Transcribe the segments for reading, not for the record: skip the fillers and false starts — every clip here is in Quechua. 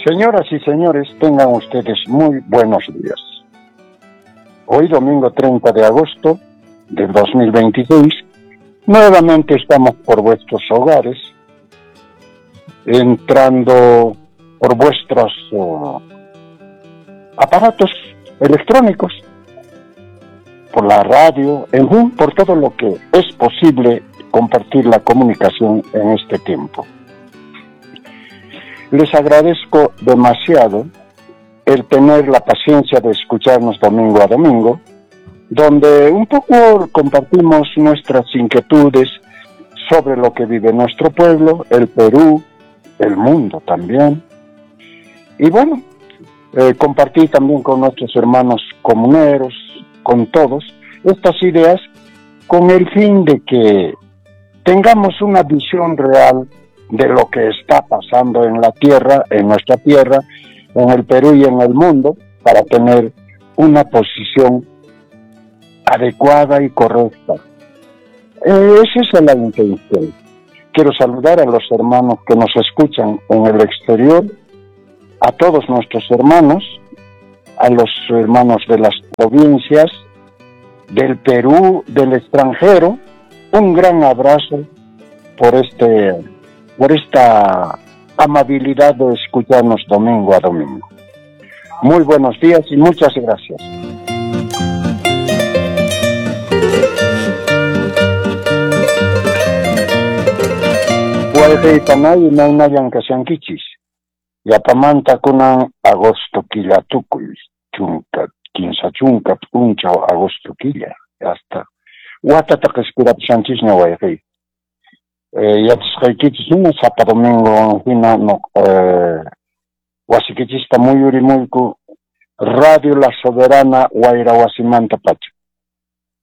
Señoras y señores, tengan ustedes muy buenos días. Hoy, domingo 30 de agosto del 2026, nuevamente estamos por vuestros hogares, entrando por vuestros aparatos electrónicos, por la radio, en fin, por todo lo que es posible compartir la comunicación en este tiempo. Les agradezco demasiado el tener la paciencia de escucharnos domingo a domingo, donde un poco compartimos nuestras inquietudes sobre lo que vive nuestro pueblo, el Perú, el mundo también. Y bueno, compartir también con nuestros hermanos comuneros, con todos, estas ideas con el fin de que tengamos una visión real de lo que está pasando en la tierra, en nuestra tierra, en el Perú y en el mundo, para tener una posición adecuada y correcta. Esa es la intención. Quiero saludar a los hermanos que nos escuchan en el exterior, a todos nuestros hermanos, a los hermanos de las provincias, del Perú, del extranjero. Un gran abrazo por esta amabilidad de escucharnos domingo a domingo. Muy buenos días y muchas gracias. Wayqiypanay imaynayan kashankichis. Yapamanta kunan agosto killa tukuy, 30 p'unchaw agosto killa, hasta watata qhispirapushanchisña wayqiy. Yachasqaykichis hina sapa domingo hina no, wasikichista muyurimuyku Radio La Soberana wayra wasimanta pacha.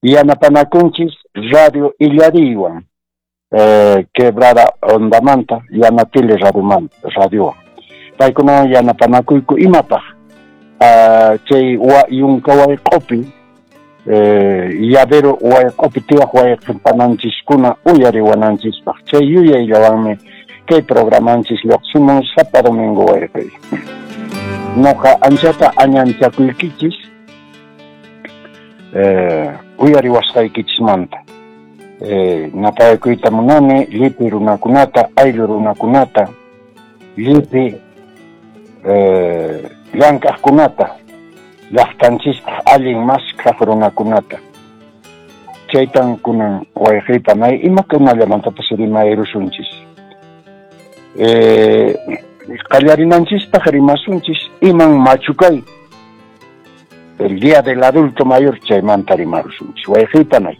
Yanapanakunchis Radio Illariywan, Quebrada Ondamanta, Yanatile radiowan. Paykunawan yanapanakuyku imapaq chay yunka wayq'upi, llavero wayq'upi tiyaq wayq'ipananchiskuna uyariwananchispaq. Chay yuyayllawanmi kay programanchis lluqsimun sapa domingo wayqiy. Noqa anchata añanchakuykichis uyariwasqaykichismanta. Napayakuyta munani llipi runakunata, ayllu runakunata, llipi llank'aqkunata, llaqtanchispaq allin mask'aq runakunata. Chaytan kunan wayqiypanay imakunallamantapas rimayrusunchis. Qallarinanchispaq rimasunchis iman machukay, el día del adulto mayor, chaymanta rimarusunchis. Wayqiypanay.